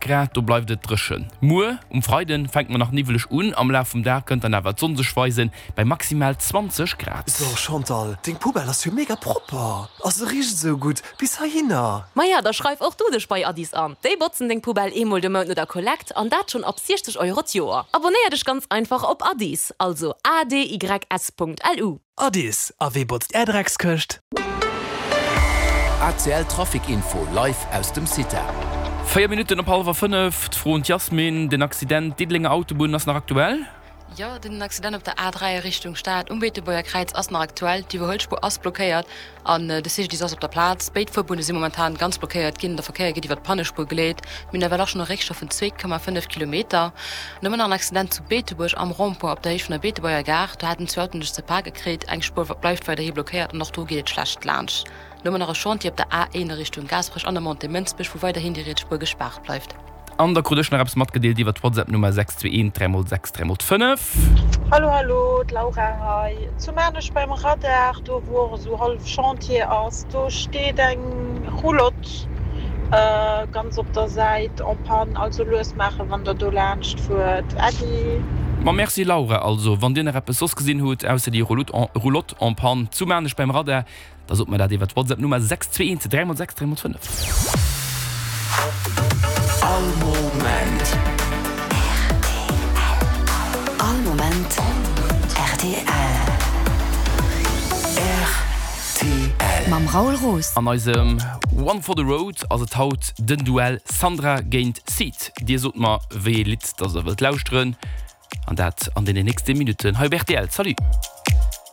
Grad, do bleift et dréchen. Muer um Freiden fänkt mer nach niwweleg un, am Laf vum Dag kënnt dann awer d'Sonn sech weisen, bei maximal 20 Grad. So Chantal, deng Poubelle ass jo mega propper a se richt esou gutt bis heihinner. Maja, da schreif och du dech bei Addis an. Déi botzen deng Poubelle eemol de Mount no der Kollekt an dat schonn ab 60 Euro d'Joer. Abonéier dech ganz einfach op Addis, also adys.lu. Addis, a wee botzt är Dreckskëscht? ACL Trafic Info live aus dem CITA. 4 Minutten op hallwer 5, d'Fro un d'Yasmine, Den Accident Diddelenger Autobunn ass nach aktuell? Jo, den Accident op der A3 a Richtung Stad um Beetebuerger Kräiz ass nach aktuell. D'Iwwerhuelspuer ass blockéiert an de CGDIS ass op der Plaz. Béid Fuerbunne si momentan ganz blockéiert ginn. De Verkéier gëtt iwwer d'Pannespuer geleet. Mir hunn ewell och schonn e Réckstau vun 2,5 Kilometer. Nëmmen nach en Accident zu Beetebuerg am Rond-point op der Héicht vun der Beetebuerger Gare. Do haten zwou Autoen sech ze pake kritt. Eng Spuer bleift weiderhi blockéiert an och do geet et schlecht laanscht. Nëmmen nach e Chantier op der A1 a Richtung Gaasperech an der Montée Mënsbech, wou weiderhin déi riets Spuer gespaart bleift. An da krut ech nach eppes matgedeelt iwwer d'Whatsapp-Nummer 621 3 x 6 3 x 5. Hallo hallo, d'Laura hei. Zu Maarnech beim Radar, do wou och esou hallef Chantier ass, do steet eng Roulotte ganz op der Säit en panne, also lues maachen wann der do laanscht fuert. Äddi. Ma merci Laura, also wann dir nach eppes soss gesinn hutt ausser déi Roulotte en panne zu Maarnech beim Radar, Da sot mer dat iwwer d'Whatsapp Nummer 621 3 x 6 3 x 5. All Moment. All Moment rtl. Rtl. Mam Raoul Roos. An eisem One for the Road ass et haut den Duell Sandra géint Seed. Dir sot mer wéi ee Lidd dass der wëllt lauschteren an dat an deenen nächste Minutten hei op rtl. Salut!